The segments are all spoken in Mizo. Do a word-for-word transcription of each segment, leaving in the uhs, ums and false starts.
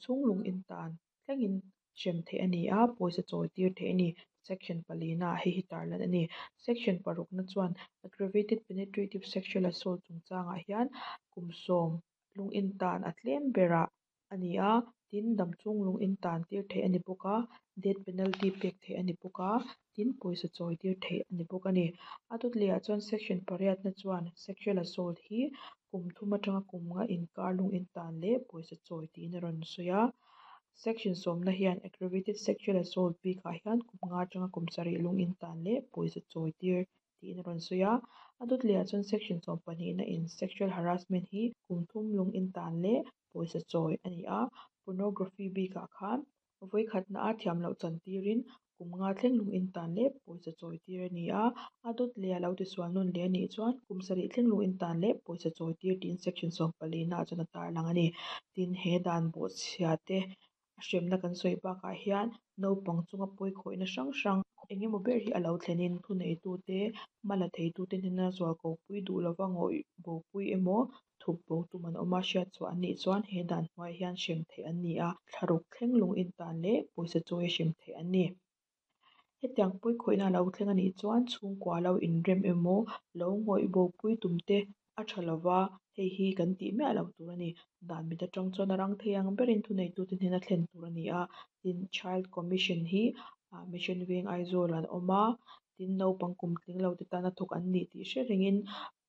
chhung lung in tan thlengin hrem theih a ni a, pawisa chawi tir theih a ni. Section palina ah hei hi tarlan a ni. Section parukna chuan aggravated penetrative sexual assault chungchangah hian kum sawm lung in tan a tlem berah a ni a, tin damchhung lung in tan tir theih a ni bawk a, death penalty pek theih a ni bawk a, tin pawisa chawi tir theih a ni bawk a ni. A dawt leh ah chuan section pariatna chuan sexual assault hi kum thum atanga kum nga inkar lung in tan leh pawisa chawi tiin a rawn sawi a. Section sawmna hian aggravated sexual assault bikah hian kum nga atanga kum sarih lung in tan leh pawisa chawi tir tiin a rawn sawi a. A dawt leh ah chuan section sawm pahnihna in sexual harassment hi kum thum lung in tan leh pawisa chawi a ni a. Pornography bikah khan vawikhatna a thiam loh chan tirin kum nga thleng lung in tan leh pawisa chawi tir a ni a. A dawt leh a lo tisual nawn leh a nih chuan kum sarih thleng lung in tan leh pawisa chawi tir tiin section sawm palina ah chuan a tarlang a ni. Tin, he dan bawhchhia te a hremna kan sawi bakah hian naupang chunga pawi khawihna hrang hrang engemaw ber hi a lo thlenin thuneitute hma la theitute hnena zualko pui duh lova ngawih bo pui emaw thup bo tum an awm a hriat chhuah an nih chuan he dan hnuaiah hian hrem theih an ni a, thlaruk thleng lung in tan leh pawisa chawi a hrem theih an ni. Hetiang pawi khawihna a lo thleng a nih chuan chhungkua lo inrem emaw lo ngawih bo pui tum te a tha lova, hei hi kan tih miah lo tur a ni. Dan mit atang chuan a rang thei ang berin thuneitute hnena thlen tur a ni a. Tin, Child Commission hi Mission Veng Aizawl an awm a, tin naupang kum tling lo te tana thawk an ni tih hre rengin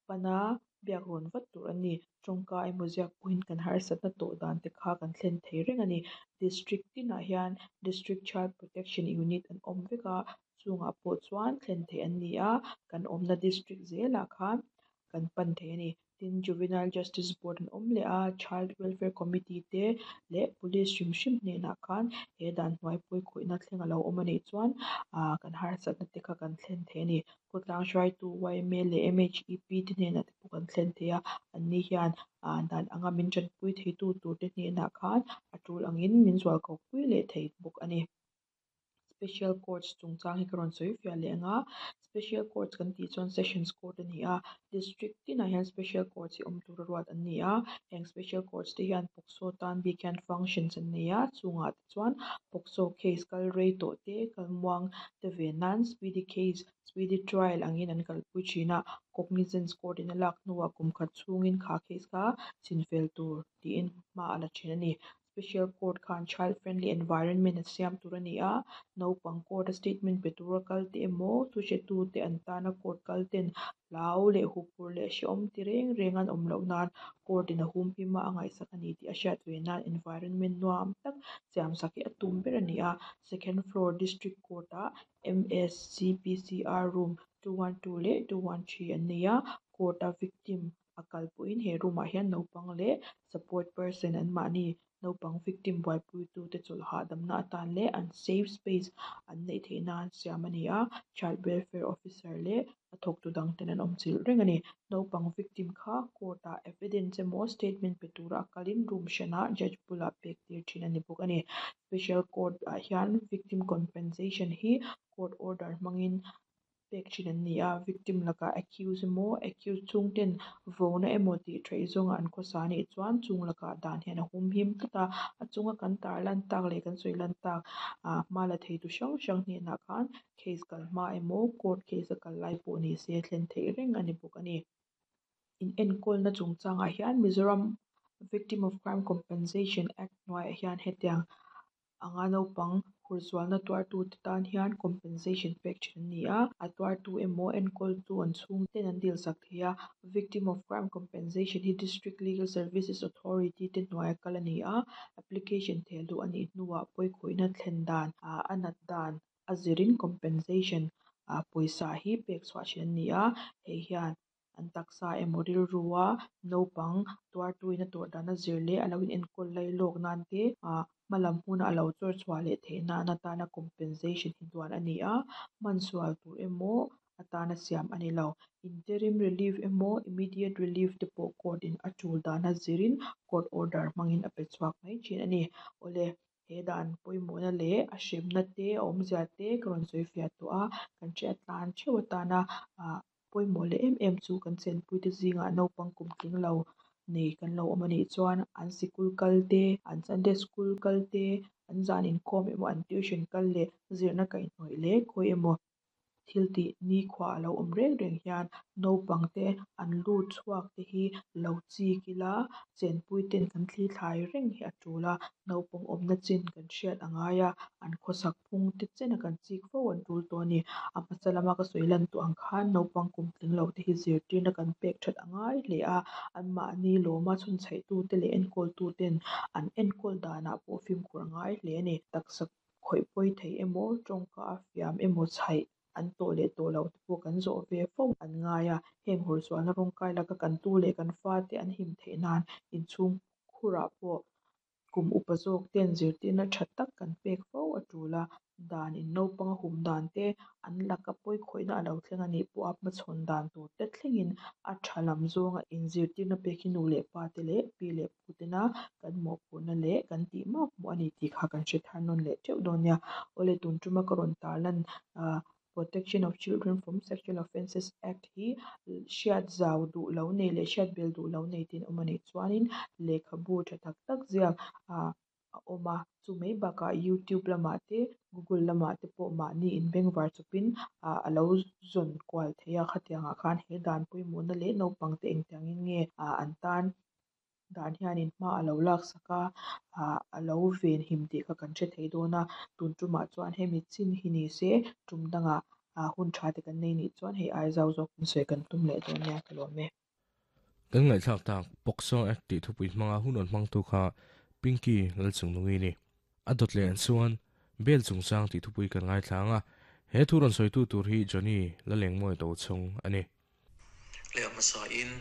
pana biak rawn vat tur a ni. Tawngka emaw ziak pawhin kan harsatna tawh dan te kha kan thlen thei reng a ni. District tinah hian District Child Protection Unit an awm vek a, chungah pawh chuan thlen theih an ni a, kan awmna district zelah khan kan pan thei a ni. Tin, Juvenile Justice Board an awm leh a, Child Welfare Committee te leh Police hrim hrim hnenah khan he dan hnuai pawi khawihna thleng a lo awm a nih chuan ah kan harsatna te kha kan thlen thei a ni. Khawtlang hruaitu Y M A leh M H E P te hnenah te pawh kan thlen thei a, anni hian ah dan anga min tanpui theitu tur te hnenah khan a tul angin min zualko pui leh thei bawk a ni. Special Courts chungchang hi ka rawn sawi fiah leh anga, Special Courts kan tih chuan Sessions Court a ni a, District tinah hian Special Courts hi awm tura ruat an ni a. Heng Special Courts te hian POCSO tan bik hian functions an nei a, chungah te chuan POCSO case kal rei tawh te, kal muang te ve nan speedy case, speedy trial angin an kalpui thin a. Cognizance court in a lak hnuah kum khat chhungin kha case kha chinfel tur tiin hma a la thin a ni. Special Court khan child friendly environment a siam tur a ni a, naupang court a statement pe tura kal te emaw thuhretu te an tana court kal ten hlau leh huphurh leh hrehawm ti reng reng an awm loh nan court in a hum him a, a ngaihsak a ni tih a hriat ve nan environment nuam tak siam sak hi a tum ber a ni a. Second floor District Court ah M S C P C R room two one two leh two one three an nei a, court a victim a kal pawhin he room ah hian naupang leh support person an mahni naupang victim buaipuitu te chawlh hahdamna atan leh an safe space an neih theih nan siam a ni a. Child welfare officer leh a thawktu dang ten an awm chilh reng a ni. Naupang victim kha court ah evidence emaw statement pe tura a kalin room hranah judge bulah pek tir thin a ni bawk a ni. Special Court ah hian victim compensation hi court order hmangin pek thin an ni a, victim lakah accuse emaw accuse chhungten vona emaw tih theih zawnga an khawsa anih chuan chung lakah dan hian a hum him tlat a, a chunga kan tarlan tak leh kan sawi lan tak ah hma la theitu hrang hrang hnenah khan case kal hma emaw court case a kal lai pawh ni se thlen theih reng a ni bawk a ni. In enkawlna chungchangah hian Mizoram Victim of Crime Compensation Act hnuaiah hian hetiang anga naupang hurzualna tuartu te tan hian compensation pek thin an ni a, a tuartu emaw enkawltu an chhungten an dil sak thei a. Victim of Crime Compensation hi District Legal Services Authority te hnuaia kal a ni a, application thehluh a nih hnuah pawi khawihna thlen dan ah a nat dan a zirin compensation ah pawisa hi pek chhuah thin an ni a, hei hian an taksa emaw rilrua naupang tuartu in a tawrh dan a zir leh a lo in enkawl lai lawk nan te ah hmalam huna a lo chawr chhuah leh theih nan atana compensation hi duan a ni a, hman sual tur emaw atana siam a ni lo. Interim relief emaw immediate relief te pawh court in a tul dan a zirin court order hmangin a pe chhuak mai thin a ni. Awle, he dan pawimawhna leh a hremna te a awmzia te ka rawn sawi fiah tawh a, kan hriat tlan theuh atana ah pawimawh leh em em chu kan chenpui te zingah naupang kum tling lo nei kan lo awm anih chuan an sikul kal te, an Sunday school kal te, an zan inkhawm emaw an tuition kal leh zirna kaihhnawih leh khawi emaw thil tih nikhua a lo awm reng reng hian naupang te an lut chhuak te hi lo chik ila chenpui ten kan thli thlai reng hi a tul a, naupang awmna chin kan hriat a ngai a, an khawsak phung te chena kan chik fo an tul tawh a ni. A hmasa lama ka sawi lan tawh ang khan naupang kum tling lo te hi zirtirna kan pek that a ngai hle a, anmahni lawma chhunchhaih te leh enkawltu ten an enkawl danah pawh fimkhur a ngai hle a ni. Taksa khawih pawi thei emaw tawngka a fiam emaw chhaih an tawh leh tawh loh te pawh kan zawh ve fo an ngai a, heng hursualna rawng kai laka kan tu leh kan fa te an him theih nan inchhung khurah pawh kum upa zawk ten zirtirna tha tak kan pek fo a tul a, dan in naupang a hum dan te an laka pawi khawihna a lo thleng anih pawh a hmachhawn dan tur te thlengin a tha lam zawnga inzirtirna pek hi nu leh pa te leh pi leh pu tena kan mawhphurhna leh kan tih makmawh a ni tih kha kan hre thar nawn leh teuh dawn nia. Awle tun tuma ka rawn tarlan ah Protection of Children from Sexual Offences Act hi hriat zau duh lo nei leh hriat bel duh lo nei tin awm anih chuanin lehkhabu tha tak tak ziak ah a awm a, chu mai bakah YouTube lamah te Google lamah te pawh mahni inbengvar chawpin ah a lo zawn kual thei a, khatiangah khan he dan pawimawhna leh naupang te engtiangin nge ah an tan dan hianin hma a lo lak sak a, ah a lo venhim tih kha kan hre thei dawn a, tun tumah chuan hemi chin hi ni se tum dangah ah hun tha te kan nei nih chuan hei ai zau zawk in sawi kan tum leh dawn nia ka lawm e. Kan ngaihthlak tak POCSO Act tih thupui hmanga hun rawn hmangtu kha Pinky Lalchungnungi ni. A dawt leh an chuan bail chungchang tih thupui kan ngaithla anga he thu rawn sawitu tur hi Johnny Lalengmawi Tochhawng a ni. Le a hmasa in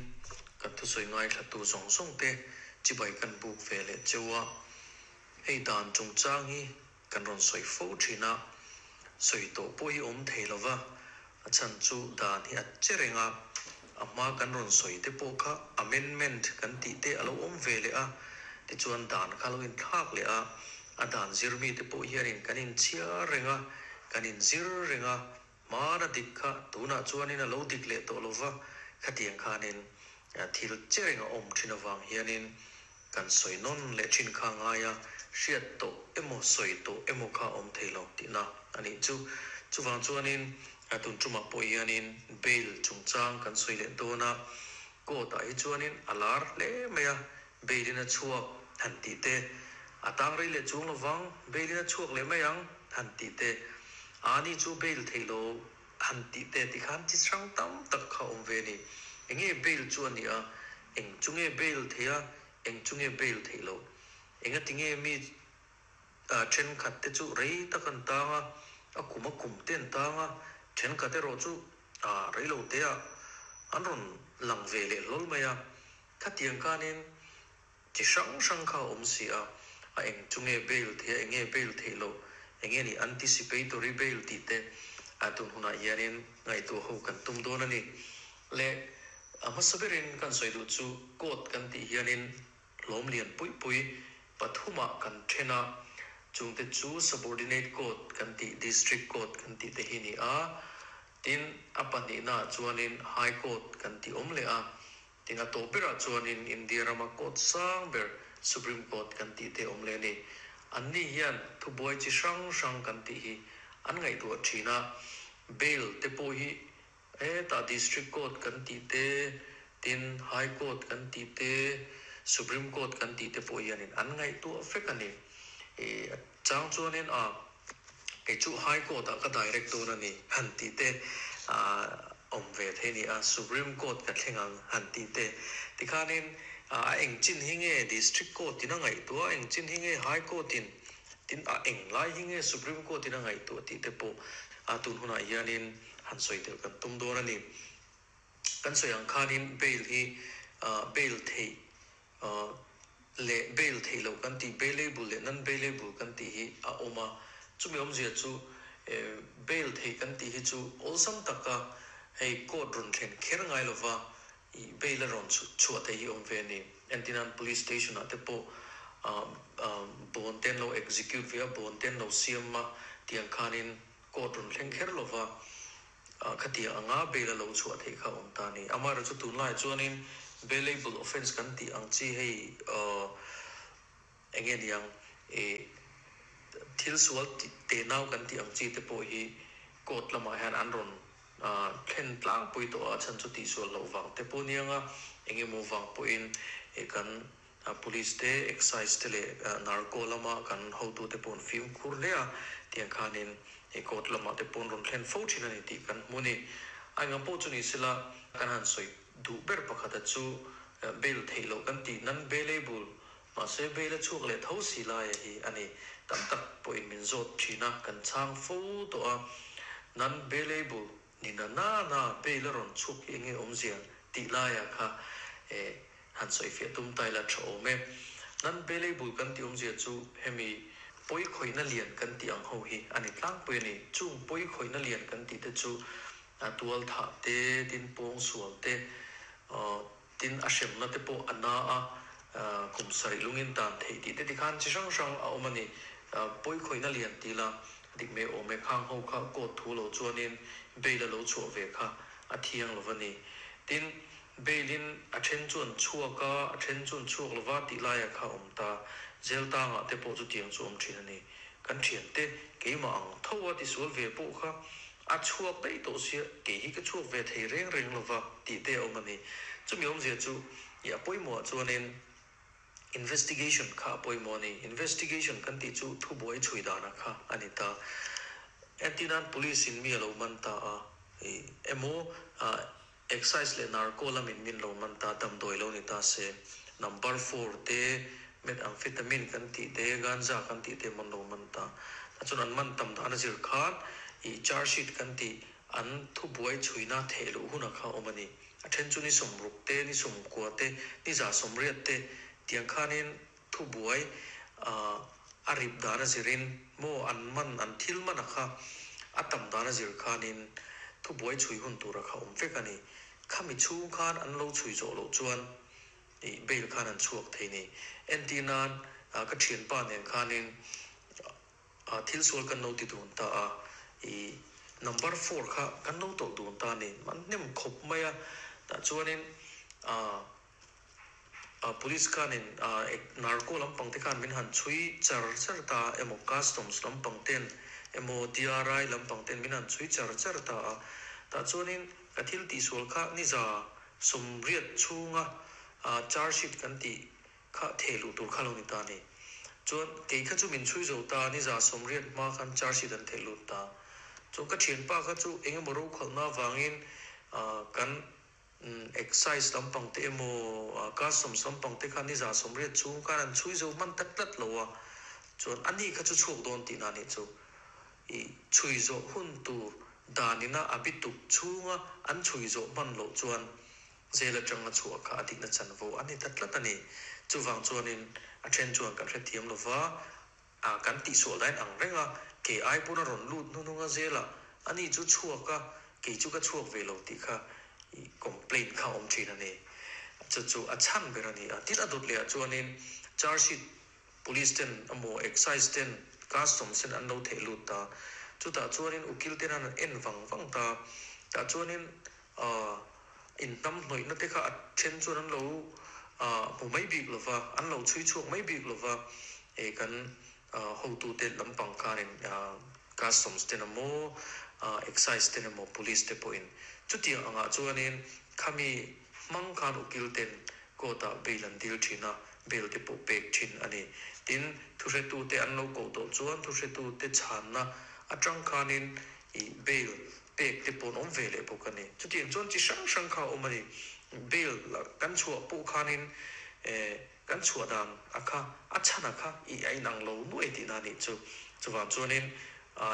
kan thusawi ngaithlatu zawng zawng te chibai kan buk ve leh cheu a, hei dan chungchang hi kan rawn sawi fo thin a, sawi tawh pawh hi awm thei lova, a chhan chu dan hi a che reng a, a hma kan rawn sawi te pawh kha amendment kan tih te a lo awm ve leh a, tichuan dan kha lo inthlak leh a, a dan zirmi te pawh hianin kan inchhiar reng a, kan inzir reng a, hmana dik kha tunah chuanin a lo dik leh tawh lova, khatiang khanin thil che reng a awm thin awang hianin kan sawi nawn leh thin kha ngai a, hriat tawh emaw sawi tawh emaw kha awm thei lo tihna anih chu. Chuwang chuanin a tun tumah pawh hianin bail chungchang kan sawi leh dawn a, court ah hi chuanin a lar hle mai a, bail in a chhuak han tih te, a tang rei leh chung lovang bail in a chhuak leh mai ang han tih te, ani chu bail thei lo han tih te ti khan chi hrang tam tak kha awm ve ni. Enge bail chu ani a, eng chunge bail thei a, eng chunge bail thei lo, enga tinge mi a then khat te chu rei tak an tang a, a kum a kum te an tang a, then khat erawh chu a rei lo te a an rawn lang ve leh hlawl mai a, khatiang khanin chi hrang hrang kha awm si a, a eng chunge bail thei a, enge bail thei lo, enge ni anticipatory bail tih te a tun hunah hianin ngaihtuah ho kan tum dawn a ni. Le a hmasa berin kan sawi duh chu court kan tih hianin hlawm lian pui pui pathumah kan then a, chungte chu subordinate court kan tih district court kan tih te hi ni a, tin a pahnihna chuanin high court kan tih awm leh a, tin a tawh berah chuanin India rama court sang ber Supreme Court kan tih te awm leh ni. An ni hian thubuai chi hrang hrang kan tih hi an ngaihtuah thin a, bail te pawh hi heta district court kan tih te, tin high court kan tih te, Supreme Court kan tih te pawh hianin an ngaihtuah vek a ni. E chang chuanin a kei chu high court ah ka direct dawn a ni han tih te a awm ve thei ni a, Supreme Court ka thleng ang han tih te, tikhanin a eng chin hi nge district court in a ngaihtuah, eng chin hi nge high court in, tin a eng lai hi nge Supreme Court in a ngaihtuah tih te pawh a tun hunah hianin han sawi tel kan tum dawn a ni. Kan sawi ang khanin bail hi bail thei leh bail thei lo kan tih bailable leh non bailable kan tih hi a awm a, chumi awmzia chu bail thei kan tih hi chu awlsam taka hei court rawn thlen kher ngai lova i bail a rawn chhuah thei hi awm ve a ni. Entinan police station ah te pawh bond ten lo execute ve a, bond ten lo siam a, tiang khanin court rawn thleng kher lova khatia anga bail a lo chhuah thei kha awm ta ni. Amaherawhchu tunlaiah chuanin Bailable offense kan ti ang chi hei uh, enge niang e thil sual te nau kan ti ang chi te pawh hi court lamah hian an rawn thlen tlang pui tawh a chan chu tih sual loh vang te pawh nianga engemaw vang pawhin e kan police te excise te leh narco lama kan hotu te pawh an fimkhur hle a tiang khanin e court lamah te pawh an rawn thlen fo thin a ni tih kan hmu a ni. A engah pawh chu ni sela kan han sawi duh ber pakhata chu bail theih loh kan tih nan bailable mahse bail a chhuak leh tho si lai hi a ni. Tam tak pawhin min zawt thin a kan chhang fo tawh a nan bailable ni na na na bail a rawn chhuak hi enge awmzia tih laiah kha e han sawi fiah tum tai la tha awm e. Nan bailable kan tih awmzia chu hemi pawi khawihna lian kan tih ang ho hi a ni tlangpui a ni. Chung pawi khawihna lian kan tih te chu a tual thah te tin pawng sual te tin a hremna te pawh a na a kum sarih lungin tan theih tih te tikhan chi hrang hrang a awm a ni. Pawi khawihna lian ti la dik mai awm e khang ho kha court thu lo chuanin bail a lo chhuah ve kha a thiang lo va ni. Tin bail in a then chu an chhuak a a then chu an chhuak lova tih laiah kha awm ta zel tangah te pawh chu tiang chu awm thin a ni. Kan thian te keimah ang tho a tisual ve pawh kha a chhuak daih tawh sia ke hi ka chhuak ve thei reng reng lova tih te awm a ni. Chumi awmzia chu i a pawimawh chuanin investigation kha a pawimawh a ni. Investigation kan tih chu thubuai chhui dana kha a ni ta. Entinan police in mi a lo man ta a emaw excise leh narco lamin min lo man ta damdawi lo ni ta se number four te methamphetamine kan tih te ganja kan tih te man lo man ta. Ta chuan an man tam dan a zir khan i charge sheet kan tih an thubuai chhuina theh loh huna kha awm a ni. A then chu ni sawmruk te ni sawmkua te ni za sawmriat te tiang khanin thubuai a rip dan a zirin maw an man an thil man a kha a tam dan a zir khanin thubuai chhui hun tura kha awm vek a ni. Khami chhung khan an lo chhui zawh loh chuan i bail khan an chhuak thei ni. Entinan ka thian pa nen khanin thil sual kan lo ti dun ta a i number four kha kan lo tawlh dun ta ni man hnem khawp mai a tah chuanin a police khanin narco lampang te khan min han chhui char char ta emaw customs lampang ten emaw D R I lampang ten min han chhui char char ta a tah chuanin ka thil tih sual kha ni za sawmriat chhunga charge sheet kan tih kha theh luh tur kha lo ni ta ni. Chuan kei kha chu min chhui zo ta ni za sawmriat hma khan charge sheet an theh lut ta. Chuan ka thian pa kha chu engemaw ro khalhna vangin kan excise lampang te emaw customs lampang te khan ni za sawmriat chhung khan an chhui zo hman tak tlat lo a chuan ani kha chu chhuak dawn tih na ni chu i chhui zawh hun tur danina a bituk chhunga an chhui zawh hman loh chuan zel atanga chhuah kha a dikna chanvo a ni ta tlat a ni. Chuwang chuanin a then chuan kan hrethiam lova a kan tih sual dain ang renga ke ai pawh a rawn lut hnununga zela ani chu chhuak a kei chu ka chhuak ve lo tih kha i complaint kha awm thin a ni. Chu chu a chhan ber a ni a. Tin a dawt leh ah chuanin charge sheet police ten emaw excise ten customs ten an lo theh lut ta. Chutah chuanin ukil ten an en vang vang ta. Tah chuanin in hnam hnawihna te kha a then chuan an lo hmu mai bik lova an lo chhui chhuak mai bik lova e kan hotu te lampang khanin customs ten emaw excise ten emaw police te pawhin chutiang angah chuanin khami hmang khan ukil ten court ah bail an dil thin a bail te pawh pek thin a ni. Tin thuhretu te an lo koh tawh chuan thuhretu te chhanna atang khanin i bail pek te pawh an awm ve leh bawk a ni. Chutiang chuan chi hrang hrang kha awm a ni. Bail kan chhuah pawh khanin kan chhuah dan a kha a chhan a kha i a inang lo nuai tih na ni chu. Chuwang chuanin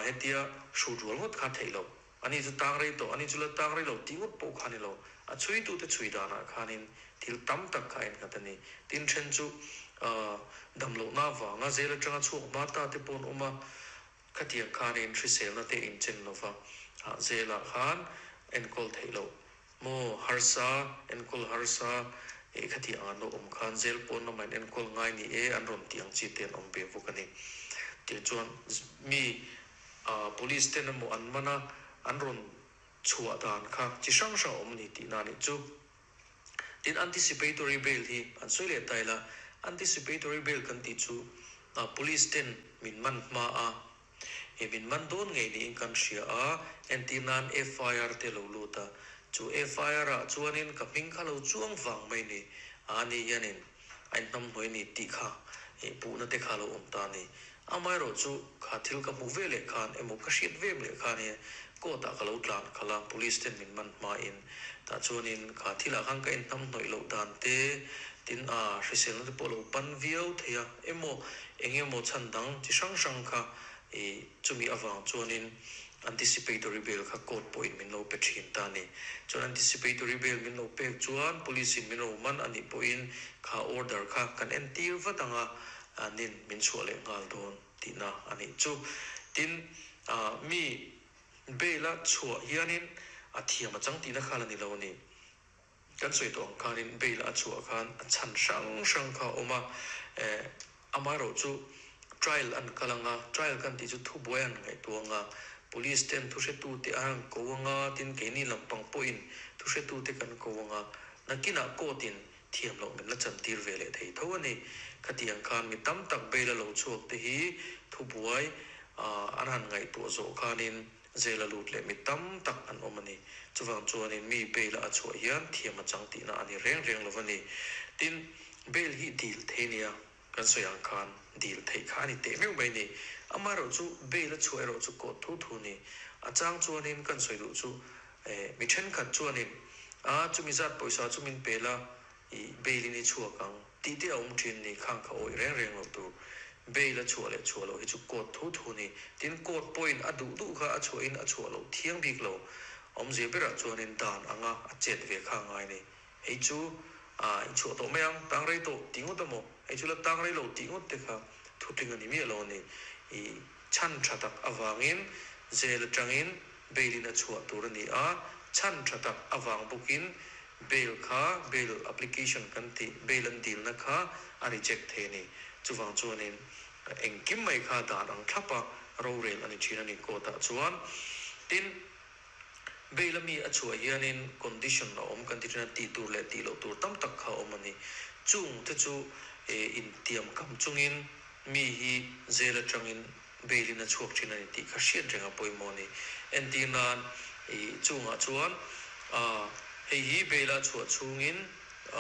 hetia hrut rual ngawt kha theih lo ani chu tang rei tawh ani chu la tang rei lo tih ngawt pawh kha ni lo. A chhui tu te chhui danah khanin thil tam tak kha en nghat a ni. Tin then chu dam lohna wanga zel atanga chhuak hma ta te pawh an awm a khatiang khanin hriselna te inchen lova zelah khan enkawl theih loh maw harsa enkawl harsa e khatiang an lo awm khan zel pawn lama in enkawl ngai ni e an rawn tih ang chi te an awm ve bawk a ni. Tiang chuan mi police ten emaw an mana an rawn chhuah dan kha chi hrang hrang awm ni tih na ni chu. Tin anticipatory bail hi an soi le taila anticipatory bail kan ti chu a police ten min man ma a he min man don ngei ni in kan hria a entinan F I R te lo luta chu F I R a chuanin ka hming kha lo chuang wang mai ni ani hianin ain hnam hnoi ni ti kha e pu na te kha lo om ta ni amai ro chu kha thil ka mu ve le khan emo ka hriat ve le khan he ko ta ka lo tlan khala police ten min man ma in ta chuanin kha thila khang ka in hnam hnoi lo dan te tin a hrisel na te pawh lo pan viau theia emo engemaw chan dang chi hrang hrang kha e chumi awang chuanin anticipatory bail kha court point min lo pe thin ta ni chuan anticipatory bail min lo pek chuan police in min lo man ani pawhin kha order kha kan en tir vatanga anin min chhuah leh nghal dawn tihna ani chu tin a mi bail a chhuah hianin a thiam a chang tihna kha la ni lo ni kan soi tawng khanin bail a chhuah khan a chan hrang hrang kha awm a e amai ro chu trial an kalanga trial kan ti chu thu buai an ngai tuanga police ten thu hre tu te an ko anga tin keini lampang pawhin thu hre tu te kan ko anga nakina court-in thiam lo min la chan tir ve leh thei tho ani khatiang khan mi tam tak bail a lo chhuak te hi thu buai an han ngai tu zo khanin zela lut leh mi tam tak an awm ani chuwang chuanin mi bail a chhuah hian thiam a chang tihna ani reng reng lo ani tin bail hi dil thei nia kan soyang khan dil thei kha ani te meu mai ni amaro chu bail a chhuah ro chu ko thu thu ni a chang chuanin kan soi du chu e mi then khat chuanin a chumi zat poisa chu min pela i bail ni chhuak ang ti te awm thin ni khang kha oi reng reng lo tur bail a chhuah leh chhuah lo hi chu court thu thu ni tin court point a du du kha a chhuah in a chhuah lo thiang bik lo awm ze bera chuanin dan anga a chet ve kha ngai ni hei chu a in chhuah to mayang tang rei to tingut amo hei chu la tang rei lo tingut te kha thu tling ani mi lo ni i chan thatak awangin zel tangin bail in a chhuah tur ani a chan thatak awang bukin bail kha bail application kan ti bail an dil na kha a reject the ni chuwang chuanin engkim mai kha dan ang thlapa ro rel ani thin ani ko ta chuan tin bail ami a chhuah hianin condition a awm kan ti thina ti tur leh ti lo tur tam tak kha awm ani chung te chu e in tiam kam chungin mi hi zel atangin bail in a chhuak thin ani tih kha hriat renga pawimawh ni entirnan i chungah chuan a hei hi bail a chhuah chungin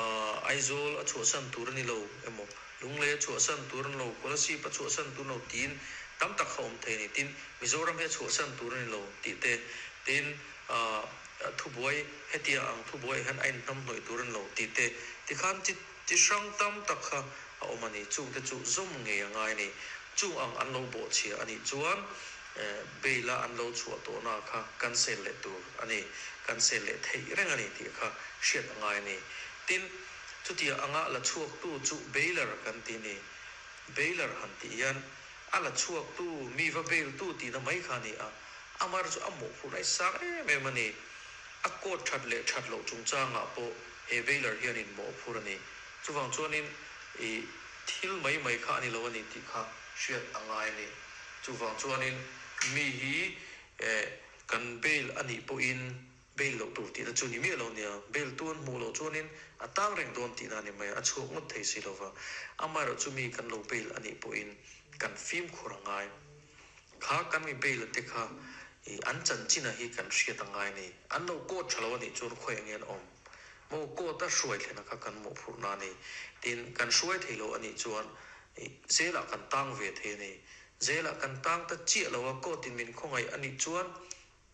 a Aizawl a chhuah san tur ani lo emaw lungle a chhuah san tur ani lo Kolasib a chhuah san tur lo tin tam tak kha awm thei ni tin Mizoram hi a chhuah san tur ani lo tih te tin a thu buai hetia ang thu buai hian a inhnam hnawih tur ani lo tih te tikhan chi chi hrang tam tak kha a awm ani chung te chu zawm ngei a ngai ni chung ang an lo bawh chhia ani chuan bail a an lo chhuah tawhna kha cancel leh tur ani cancel leh thei reng ani tih kha hriat a ngai ani tin chutia anga la chhuak tu chu bailer kan ti ni bailer han ti hian a la chhuak tu mi va bail tu ti na mai kha ni a amar chu a mawh phur ai sang em em ani a court that leh that lo chungchangah pawh he bailer hianin mawh phur ani chuwang chuanin i thil mai mai kha ani lo ani tih kha hriat a ngai ani chuwang chuanin mi hi e kan bail ani pawhin bail lo tur tihna chu ni mi lo nia bail tuan hmu lo chuanin a tang reng dawn tihna ani mai a chhuak ngawt thei si lova amaro chu mi kan lo bail ani pawhin kan fim khur a ngai kha kan mi bail te kha i an chan china hi kan hriat a ngai ni an lo court thalo ani chuan khoi angen awm mo court a hruai thlena kha kan mawh phurh na ni tin kan hruai thei lo ani chuan zela kan tang ve thei ni zela kan tang ta chiah lo a court in min khawngai ani chuan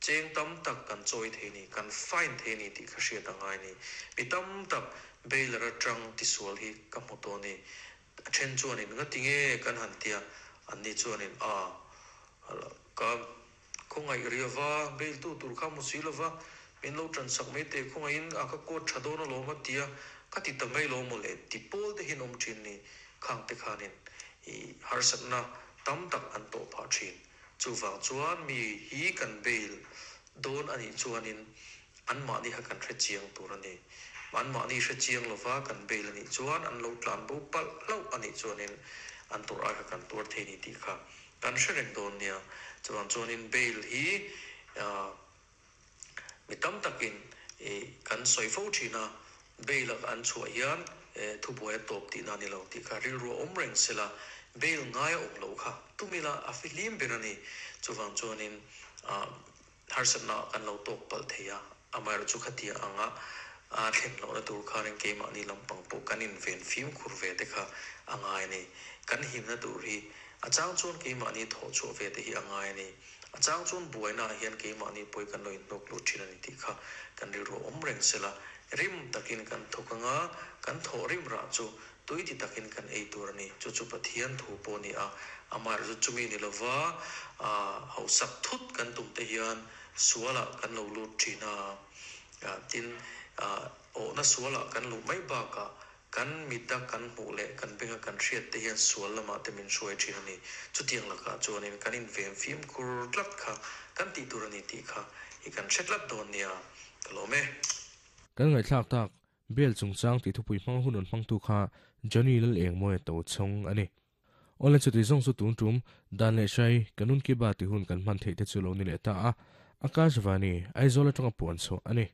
cheng tam tak kan chawi thei ni kan fine thei ni tih kha hriat a ngai ni mi tam tak bailer atang tisual hi ka hmu tawh ni a then chuanin nga tinge kan han tia an ni chuanin a ka khawngai riawa bail tu tur kha mu si lova min lo tran sak mai te khawngaiin a ka court tha dawn a lawm a tia ka ti ta mai lo maw le ti pawl te hin awm thin ni khang te khanin i harsatna tam tak an tawh phah thin chuwang chuan mi hi kan bail dawn ani chuanin an mahni kha kan hre chiang tur ani an mahni hre chiang lova kan bail ani chuan an lo tlan bo palh hlauh ani chuanin an tur ai kha kan tuar thei ni tih kha kan hre reng dawn nia chuwang chuanin bail hi mi tam takin i kan sawi fo thina Bail an chhuah hian thubuai a tawp tihna a ni lo tih kha rilru a awm reng sela, bail ngai a awm loh kha tumila a fihlim ber a ni. Chuvang chuanin harsatna kan lo tawk palh thei a, amaherawhchu chu khatia anga a thlen lohna tur khanin keimahni lampang pawh kan inven fimkhur ve te kha a ngai a ni. Kan himna tur hi a chang chuan keimahni thawh chhuah ve te hi a ngai a ni. A chang chuan buainaah hian keimahni pawi kan lo inhnawk lut thin a ni tih kha kan rilru a awm reng sela, rim takin kan thawk anga kan thawh rim rah chu tui ti takin kan ei tur a ni. Chu chu Pathian thu pawh a ni a, amaherawhchu chumi ni lova hausak thut kan tum te hian sualah kan lo lut thin a, tin awhna sualah kan luh mai bakah kan mita kan hmuh leh kan benga kan hriat te hian sual lamah te min hruai thin a ni. Chutiang lakah chuanin kan inven fimkhur tlat kha kan tih tur a ni tih kha i kan hre tlat dawn nia, ka lawm e. Kan ngaihthlak tak, Bel chungchang tih thupui hmang hun rawn hmangtu kha Johnny Lalengmawia to chhawng a ni. Awle chuti zawng chu tun tum dan leh hrai Kanun Ki Baat tih hun kan hman theih te chu lo ni leh ta a, Akashvani, Aizawl atanga puan chhuah a ni.